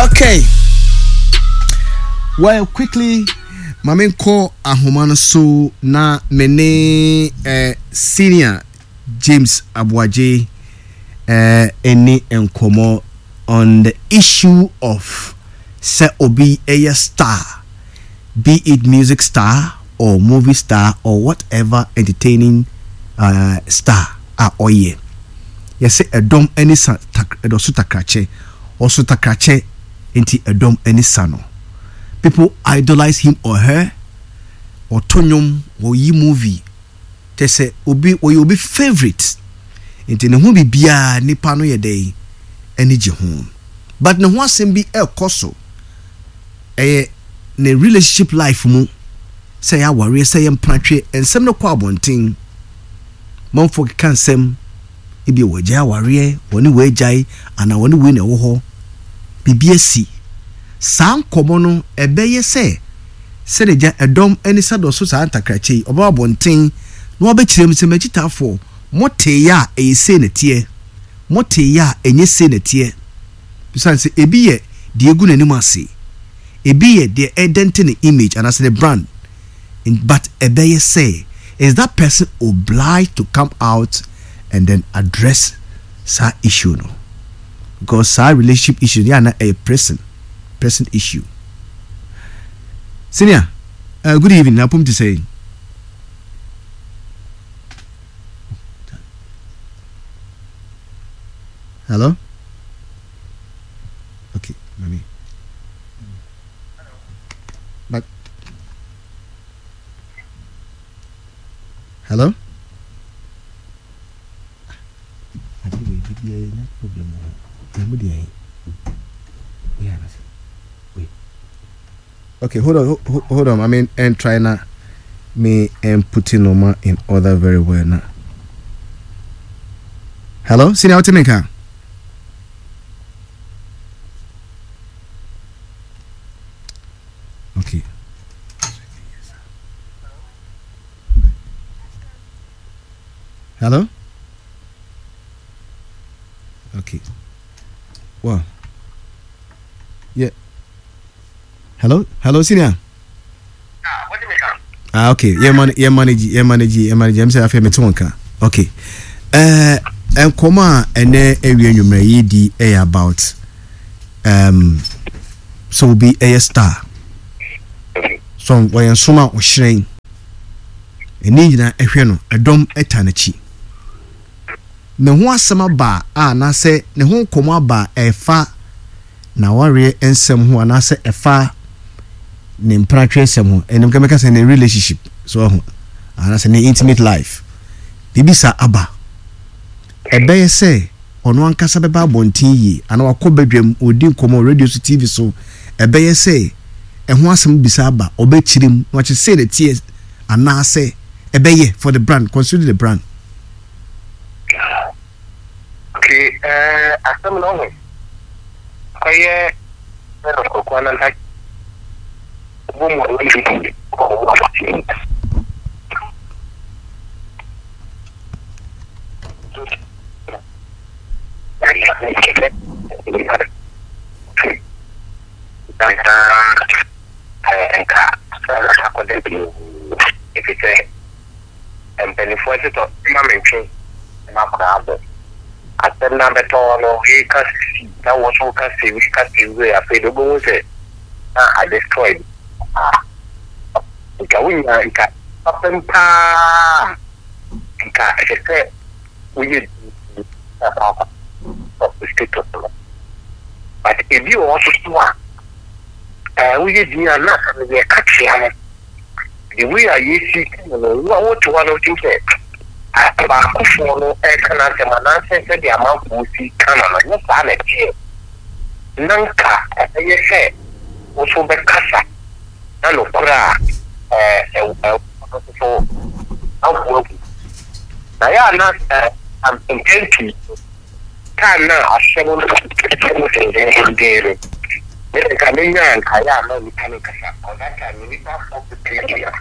Okay. Well, quickly, ma menkɔ ahoma no so na me ne eh, senior James Aboagye eh, ɛni nkɔmmɔ on the issue of sɛ obi ɛyɛ star, be it music star or movie star or whatever entertaining uh, star a ɔyɛ. Yɛsɛ ɛdɔm ani sa tak ɛdɔso takrakyɛ, ɔso takrakyɛ nti ɛdɔm ani sa no. People idolize him or her, ɔto nnwom, ɔyi movie, kyɛ sɛ obi ɔyɛ obi favourite nti ne ho biribiara nipa no yɛ dɛn ani gye ho. But ne ho asɛm bi ɛrekɔ so, ɛyɛ ne relationship life mu, sɛ ɛyɛ awareɛ, sɛ ɛyɛ mpenatweɛ, nsɛm no kɔ abɔnten. Manfoɔ keka nsɛm, ebia wɔagyae awareɛ, wɔne wei agyae, anaa wɔne wei na ɛwɔ hɔ, biribi asi. Saa nkɔmmɔ no, ɛbɛyɛ sɛ sɛdeɛ gya ɛdɔm ani sa dɔ so saa ntakrakyɛ yi, ɔbɛba abɔnten na wabɛkyerɛ mu sɛ, M'akyitaafoɔ, moteeɛ a ɛyɛ sei na ɛteɛ, moteeɛ a ɛnyɛ sei na ɛteɛ. Ɛsiane sɛ ebi yɛ deɛ ɛgu n'anim ase, ebi yɛ deɛ ɛdɛnte ne image anaasɛ ne brand, but ɛbɛyɛ sɛ is that person obliged to come out and then address saa issue no because saa relationship issue no yɛ ana ɛyɛ pressing pressing issue. Senior, good evening, na apom te sɛ. Hello? Okay, mami. But hello? Ade wei de bia yɛnya problem wɔ ho. Na mu deɛ wei anase. Wei. Okay, hold on, hold on. I mean, and try na me and putting normal in order very well now. Hello, senior, what you Okay. Hello? Okay. Well. Yeah. Hello? Hello, senior. Ah, okay. Yeah, man, yeah, manage, yeah, manage, yeah, manage. I'm saying I feel me too. Okay. Nkɔmɔ a ɛnɛ awie nwummerɛ yi di ɛyɛ about sɛ obi ɛyɛ star so wɔyɛ nsom a ɔhyerɛn ɛne nyinaa ɛhwɛ no ɛdɔm ɛta n'akyi ne ho asɛm aba a anaasɛ ne ho nkɔmɔ aba a ɛfa n'awareɛ nsɛm ho anaasɛ ɛfa ne mpenatwe nsɛm ho ɛnum kɛmɛka sɛ ne relationship so ɛho anaasɛ ne intimate life biribi saa aba ɛbɛyɛ sɛ ɔno ankasa bɛba abɔnten yie anaa wakɔ badwam ɔredi nkɔmmɔ wɔ radio so TV so ɛbɛyɛ sɛ ɛho asɛm bisa aba ɔbɛkyerɛ mu na wakyerɛ sei na ɛteɛ anaasɛ ɛbɛyɛ for the brand consider the brand. Okay, eh, asɛm no ho kɔyɛ kɔkɔɔ ananta bɔ mu a wɔn Nka akɔda bio efisɛ mpanimfoɔ se tɔ ma mentwe m'akora abɔ. Asɛm no abɛtɔ hɔ no, wei ka si na wo nso woka si, wei ka si wei afei de wobɛhu sɛ na adestroy paa. Nka wonya nka fapem paa nka ɛsɛ sɛ woyɛ bi na kɔ akɔ status no. But ebi wɔ hɔ nso so a ɛɛ woyɛ din a na yɛka kyea no. The way a yɛsi ka no no, wo a wote hɔ no wotim sɛ baakofoɔ no ɛreka n'asɛm anaasɛ sɛdeɛ amanfoɔ si ka no no, nyɛ saa na ɛteɛ. Na nka ɛbɛyɛ sɛ wo nso wobɛkasa na nokorɛ a ɛwɔ no nso so amanfoɔ ahu. Na yɛ a na mpɛn pii no, time no a asɛm no ɛtɔ mu dendeenden no, me de nka menya a nka yɛ a na nnipa no nkasa. Because that time no nnipa afɔ bebree.